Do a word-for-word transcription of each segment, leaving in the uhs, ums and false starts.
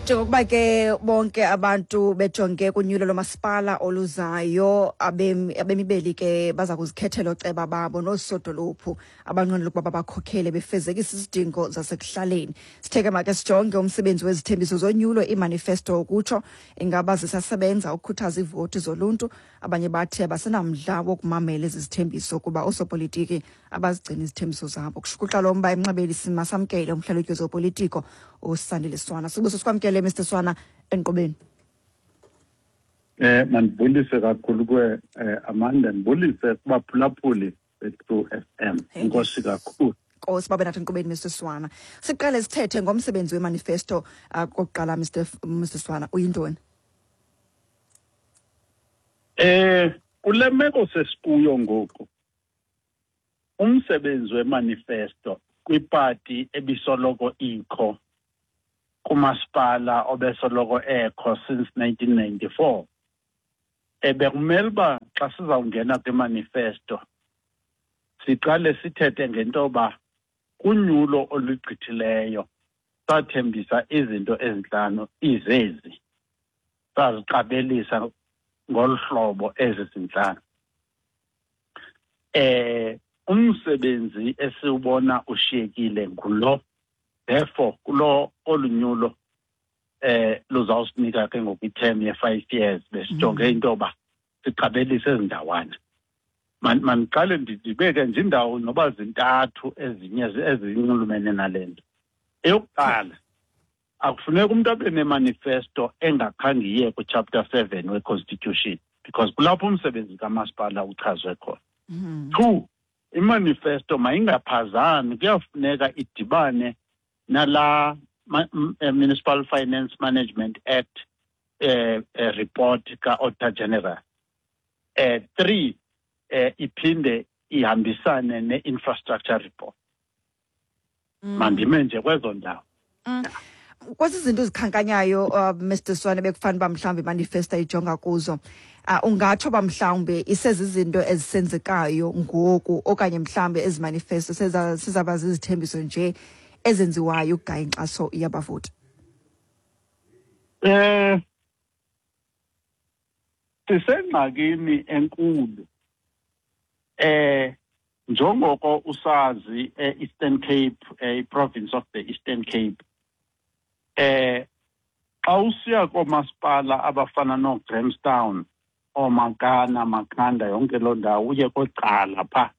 Njengokuba ke bonke abantu bejonge kunyulo lomasipala oluzayo, abemi abemi beli ke baza kuzikhethela ooceba babo noosodolophu abanqwenela ukuba babakhokhele befezekisa izidingo zasekuhlaleni. Sithe ke make sijonge umsebenzi wezithembiso zonyulo, imanifesto ukutsho, ingaba zisasebenza ukukhuthaza iivoti zoluntu? Abanye bathi abasenamdla wokumamela ezi zithembiso kuba oosopolitiki abazigcini izithembiso zabo. Kushukuxa lo mba emnxebeni simasamkele umhlalutyi wezopolitiko uSandile Swana. Sibuso sikwamkele, Mister Swana, enkqubeni. Eh mandibulise kakhulu kwe eh, Amanda, ndibulise kubaphulaphuli be-True F M. Enkosi kakhulu. Nkosi babe nathi enkqubeni, Mister Swana. Siqale sithethe ngomsebenzi wemanifesto uh, kokuqala, Mister F- Mister Swana, uyintoni? Eh kule meko sesikuyo ngoku, umsebenzi wemanifesto kwipati ebisoloko ikho kumasipala obesoloko ekho since nineteen ninety-four, ebekumele uba xa sizawungena kwimanifesto siqale sithethe ngento yoba kunyulo olugqithileyo sathembisa izinto ezintlanu, izezi saziqabelisa ngolu hlobo ezi zintlanu. eh umsebenzi esiwubona ushiyekile ngulo, therefore kulo olunyulo eh luzawusinika ke ngoku i-term ye-five years, besijonge into yoba siqabelise ezi ndawana. Mandiqale ndibeke nje indawo noba zintathu ezinye ezinxulumene nale nto. Eyokuqala, akufuneka umntu abe nemanifesto engakhange iye kwi-chapter seven we-constitution, because kulapho umsebenzi kamasipala uchazwe khona. Two, imanifesto mayingaphazami, kuyafuneka idibane nala Municipal Finance Management Act eh, eh report ka-Auditor General. eh three, eh iphinde ihambisane ne-infrastructure report. Mandime nje kwezo ndawo. Mm. Kwezi zinto uzikhankanyayo, uh, Mister Swane, bekufanele uba mhlawumbi imanifesto ijonga kuzo, uh, ungatsho uba mhlawumbi isezizinto ezisenzekayo ngoku, okanye mhlawumbi ezi manifesto sizaba zizithembiso nje ezenziwayo ukugaya inkxaso yabavoti? Eh sisengxakini enkulu. Eh njengoko usazi, e-Eastern Cape, i-province of the Eastern Cape, eh xa usiya koomasipala abafana nooGrahamstown, ooMakana, Makhanda, yonke loo ndawo, uye koCala phaa,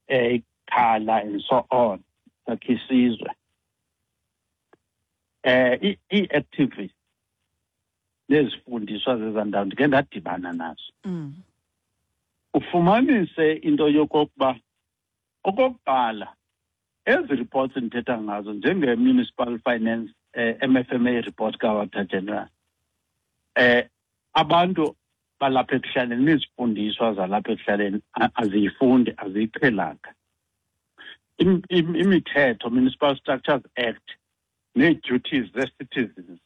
eh iKhala and so on, Sakhisizwe, eh ii-activists nezifundiswa zezaa ndawo ndike ndadibana nazo, Mm. ufumanise into yokokuba okokuqala ezi reports ndithetha ngazo njenge-Municipal Finance eh, M F M A report ka-Auditor General, eh abantu balapha ekuhlaleni nezifundiswa zalapha ekuhlaleni aziyifundi, aziyiqhelanga imithetho, Municipal Structures Act nee-duties ze-citizens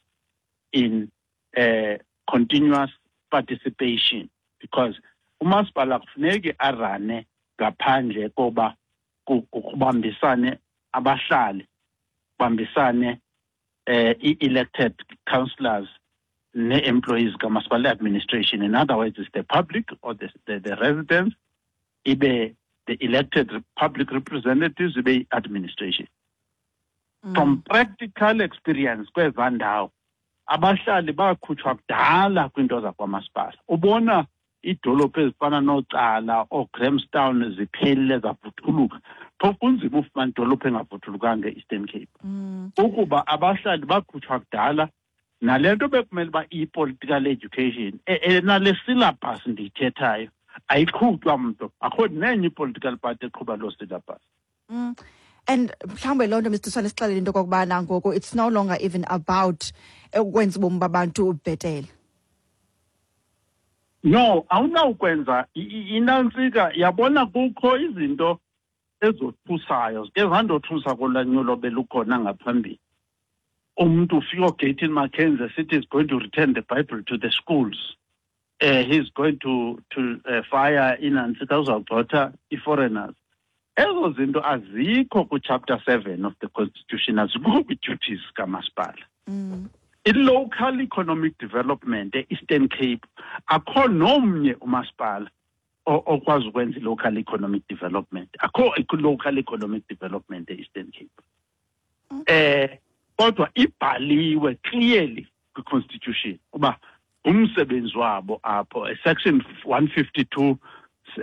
in eh continuous participation, because umasipala kufuneki arane ngaphandle koba kubambisane abahlali, kubambisane eh i-elected councillors ne-employees kamasipala, administration. In other words, it's the public or the, the, the residents, ibe the elected public representatives, ibe i-administration. mm. From practical experience kwezaa ndawo, abahlali bakhutshwa kudala kwiinto zakwamasipala. Ubona iidolophu ezifana noCala, ooGrahamstown ziphelile, zavuthuluka, phofu kunzima ufumana idolophu engavuthulukanga e-Eastern Cape, mm. ukuba abahlali bakhutshwa kudala. Nale nto bekumele uba iyi-political education enale syllabus ndiyithethayo ayiqhutywa mntu, akho nenye i-political party eqhuba loo syllabus. mm. And mhlawumbe loo nto, Mister Swane, sixelele into okokubana ngoku it's no longer even about ukwenza ubomi babantu bhetele. No, awunawukwenza inantsika. Yabona, kukho izinto ezothusayo zike zandothusa kolanyulo belukhona ngaphambili. Umntu ufika, uGayton McKenzie, sithi is going to return the Bible to the schools, uh, he's going to to uh, fire inantsika, uzawugxotha i-foreigners. Ezo zinto azikho kwi-chapter seven of the constitution, azikho kwi-duties kamasipala. mm. I-local economic development e-Eastern Cape, akho nomnye umasipala okwazi ukwenza i-local economic development. Akho i-local economic development e-Eastern Cape. Eh kodwa ibhaliwe clearly kwi-constitution uba umsebenzi wabo apho, section one fifty-two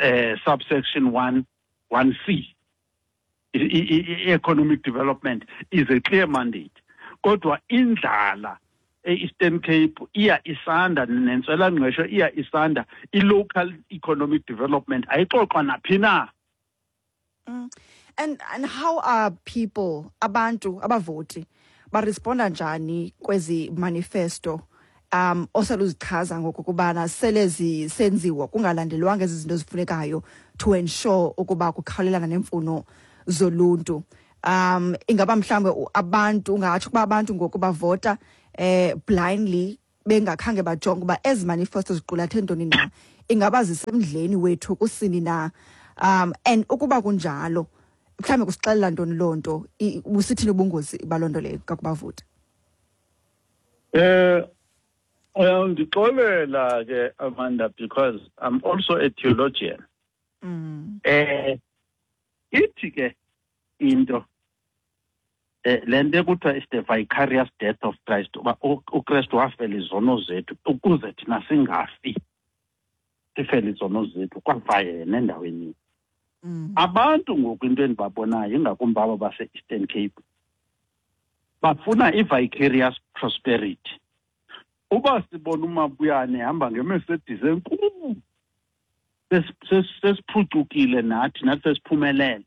eh, subsection one one C, economic development is a clear mandate. Kodwa indlala e-Eastern Cape iya isanda, nentswelangqesho iya isanda, i-local economic development ayixoxwa naphi na. Mm. And and how are people, abantu abavoti, baresponda njani kwezi manifesto um oseluzichaza ngokubana sele zisenziwa kungalandelwanga ezi zinto zifunekayo to ensure ukuba kukhawulelana nemfuno zoluntu? Um ingaba mhlambe abantu ungatsho ukuba abantu ngoku bavota eh blindly bengakhange bajonge uba ezi manifesto ziqulathe ntoni na, ingaba zisemdleni wethu kusini na? Um and ukuba kunjalo mhlambe kusixelela ntoni loo nto, busithini ubungozi baloo nto leyo kakubavota? Eh uyandixolela ke Amanda, because I'm also a theologian. Mm. Eh ithi ke into eh le nto ekuthiwa is the vicarious death of Christ, uba uKristu wafela izono zethu ukuze thina singafi, sifele izono zethu, kwafa yena endaweni. Mm. Abantu ngoku into endibabonayo ingakumbi aba base-Eastern Cape bafuna i-vicarious prosperity. Uba sibona uMabuyane ehamba ngeMercedes enkulu, sesiphucukile nathi, nathi sesiphumelele.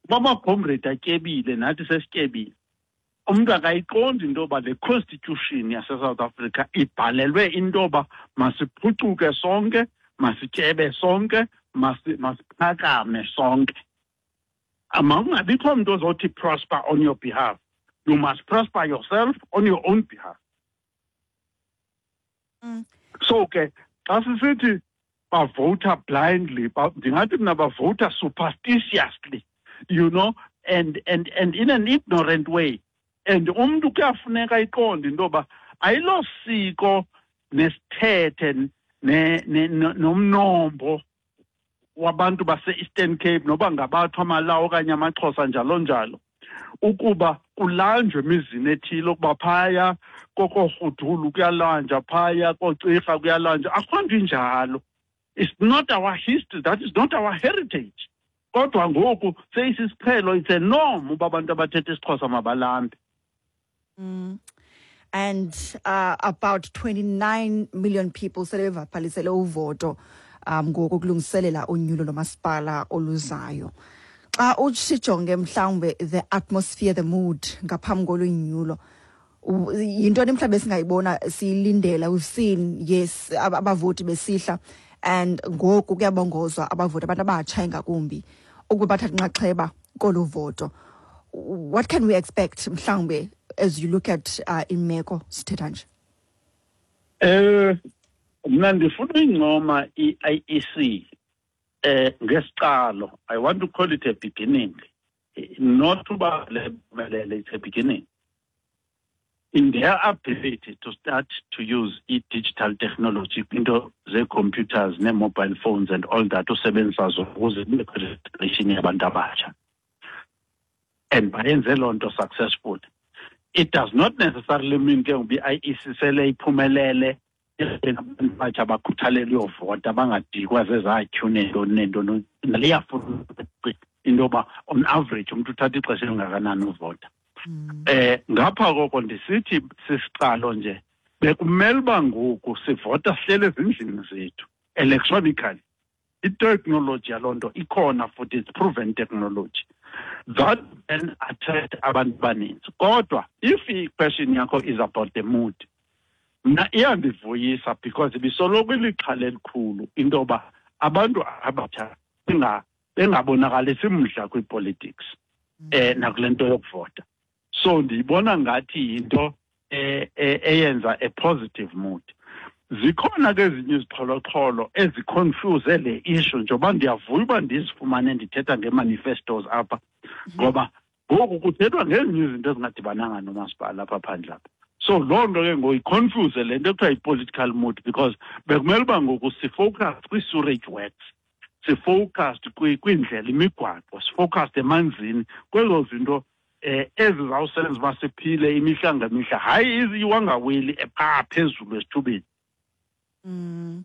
Uba amacomrade atyebile, nathi sesityebile. Umntu akayiqondi into yoba le constitution yaseSouth Africa ibhalelwe into yoba masiphucuke sonke, masityebe sonke, masiphakame sonke. Makungabikho mntu ozothi prosper on your behalf. You must prosper yourself on your own behalf. Mm. So ke xa sisithi bavota blindly, ndingathi mna bavota superstitiously, you know, and and and in an ignorant way. And umntu kuyafuneka iqonde into yoba ayilosiko nesithethe nomnombo wabantu base-Eastern Cape, noba ngabathwa amaLawu okanye amaXhosa njalo njalo, ukuba kulanjwe emizini ethile, ukuba phaya kokoRhudulu kuyalanja, phaya koCirha kuyalanja. Akho nto injalo. It's not our history, that is not our heritage. Kodwa ngoku seyisisiqhelo, it's a norm uba abantu abathetha isiXhosa mabalambe. Mm. And uh, about twenty-nine million people sele bevabhalisele uvoto um ngoku kulungiselela unyulo lomasipala oluzayo. Xa usijonge mhlawumbe the atmosphere, the mood ngaphambi kolunyulo, yintoni mhlawumbe singayibona siyilindela? We've seen, yes, abavoti besihla, and ngoku kuyabongozwa abavoti, abantu abatsha ingakumbi, ukuba bathathe inxaxheba kolu voto. What can we expect mhlawumbe as you look at uh, imeko sithetha nje? Eh mna ndifuna uyincoma i-I E C eh ngesiqalo. I want to call it a beginning, not uba le, it's a beginning in their ability to start to use i-digital technology, into ze-computers ne-mobile phones and all that, usebenzisa zona ukuze kubekho registration yabantu abatsha, and bayenze loo nto successful. It does not necessarily mean ke ngoba i-I E C sele iphumelele abantu abatsha bakhuthalele uyovota, bangadikwa zezaa-queue neentoni neentoni. Liyafuna into yoba on average umntu uthatha ixesha elingakanani uvota. Eh ngapha koko ndisithi sisiqalo nje, bekumele uba ngoku sivota sihlele ezindlini zethu electronically. I-technology yaloo nto ikhona futhi, it's proven technology that can attract abantu abaninzi. Kodwa if i-question yakho is about the mood, mna iyandivuyisa because ibisoloko ilixhala elikhulu into yoba abantu abatsha bengabonakalisi mdla kwi-politics eh nakule nto yokuvota. So ndiyibona ngathi yinto eyenza a positive mood. Zikhona ke ezinye izixholoxholo eziconfuse le issue, njengoba ndiyavuya uba ndizifumane ndithetha nge-manifestos apha, ngoba ngoku kuthethwa ngezinye izinto ezingadibananga nomasipala apha phandle apha. So loo nto ke ngoku iconfuse le nto ekuthiwa yi-political mood, because bekumele uba ngoku sifocus kwii-sewerage works, sifocused kwiindlela, imigwaqo, sifocused emanzini, kwezo zinto eh ezizawusenza uba siphile imihla ngemihla, hayi iwangaweli ephaa phezulu esithubeni. Mm.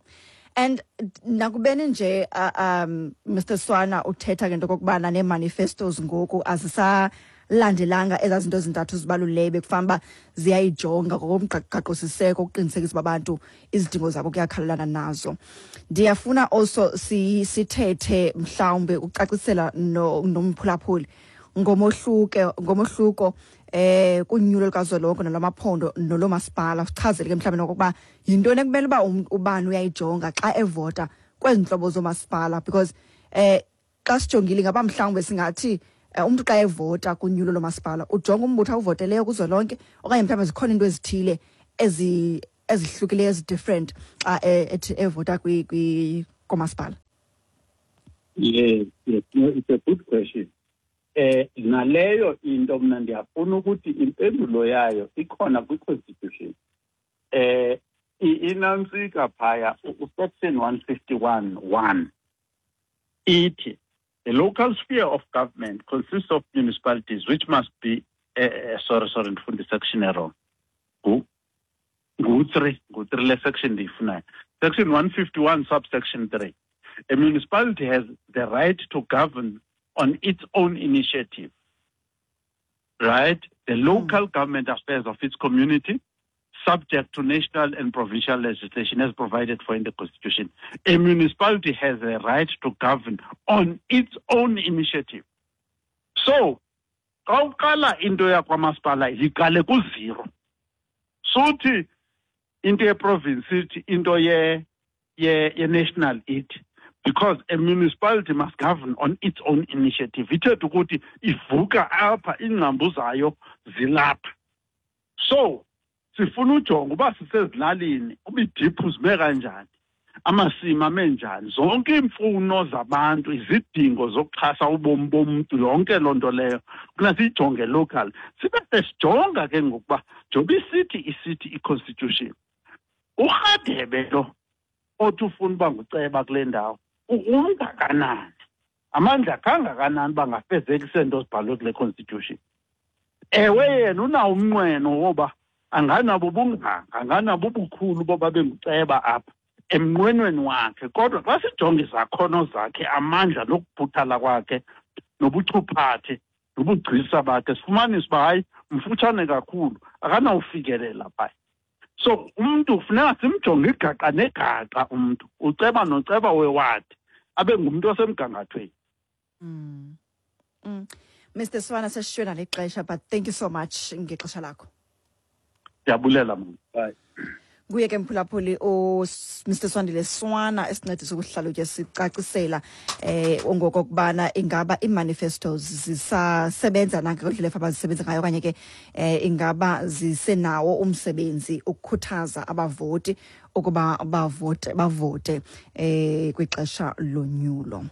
And nakubeni nje uh, um Mister Swana uthetha ngento kokubana nee-manifestos ngoku azisalandelanga ezaa zinto zintathu zibalulekileyo bekufanele uba ziyayijonga ngokomgaqosiseko ukuqinisekisa uba abantu izidingo zabo kuyakhalelana nazo. Ndiyafuna also si sithethe mhlawumbe ucacisela no nomphulaphuli ngomohluke ngomohluko eh kunyulo lukazwelonke nolwamaphondo nolomasipala, sichazele ke mhlawumbe nokokuba yintoni ekumele uba ubani uyayijonga xa evota kwezi ntlobo zomasipala, because eh xa sijongile ingaba mhlawumbe singathi umntu xa evota kunyulo lomasipala ujonga umbutho awuvoteleyo kuzwelonke, okanye mhlawumbe zikhona into ezithile ezi ezihlukileyo ezi-different xa ethi evota kwi kwi komasipala. Yes, yes, no, it's a good question. Eh naleyo into mna ndiyafuna ukuthi impendulo yayo ikhona kwi-constitution. Eh inantsika phaya usection one fifty-one one ithi the local sphere of government consists of municipalities which must be eh, sorry sorry ndifunda section error ngu ngu three ngu three le section ndiyifunayo, section one fifty-one subsection three. A municipality has the right to govern on its own initiative, right? The local mm. government affairs of its community, subject to national and provincial legislation as provided for in the Constitution. A municipality has a right to govern on its own initiative. So, xa uqala into yakwamasipala yiqale ku-zero. Suthi into ye-province ithi, into ye, ye, ye-national ithi, because a municipality must govern on its own initiative. Ithetha ukuthi ivuka apha, iingcambu zayo zilapha. So sifuna ujonga uba sisezilalini, uba idiphu zime kanjani, amasimi ame njani, zonke iimfuno zabantu, izidingo zokuxhasa ubomi bomntu, yonke loo nto leyo funa siyijonge local. Sibe sesijonga ke ngokuba njengoba isithi isithi i-constitution, uRhadebe lo othi ufuna uba nguceba kule ndawo ungakanani, amandla kangakanani uba ngafezekise nto zibhalwe kule constitution. Ewe, yena unawo umnqweno woba anganabo ubunganga, anganabo ubukhulu boba benguceba apha emnqwenweni wakhe, kodwa xa sijonge izakhono zakhe, amandla nokuphuthala kwakhe nobuchuphathe nobugcisa bakhe, sifumanise uba hayi mfutshane kakhulu, akanawufikelela phaya. So umntu kufuneka simjonge igaqa negaqa umntu, uceba noceba wewadi, abe ngumntu osemgangathweni. Mm. Mm. Mister Swana, sesishiywe nalixesha, but thank you so much ngexesha lakho. Ndiyabulela mama. Bye. Nguye ke mphulaphuli u Mister Swandile Swana esincedisa ukuhlalutya sicacisela eh ngokokubana ingaba ii-manifestos zisasebenza na ngendlela abazisebenza ngayo, okanye ke eh ingaba zisenawo umsebenzi ukukhuthaza abavoti ukuba bavote bavote eh kwixesha lonyulo.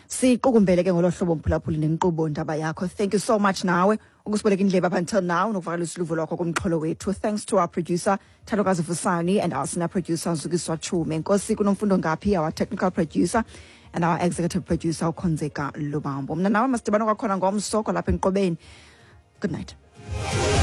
Siqukumbele ke ngolo hlobo mphulaphuli nenkqubo ndaba yakho. Thank you so much nawe ukusiboleka indlebe up until now nokuvakalisa uluvo lwakho kumxholo wethu. Thanks to our producer Thandokazi Fusani and our senior producer Zukiswa Chume. Nkosi kunomfundo Ngaphi, our technical producer, and our executive producer uKhonzeka Lubambo. Mna nawe masidibane kwakhona ngomso kwalapha enkqubeni. Good night.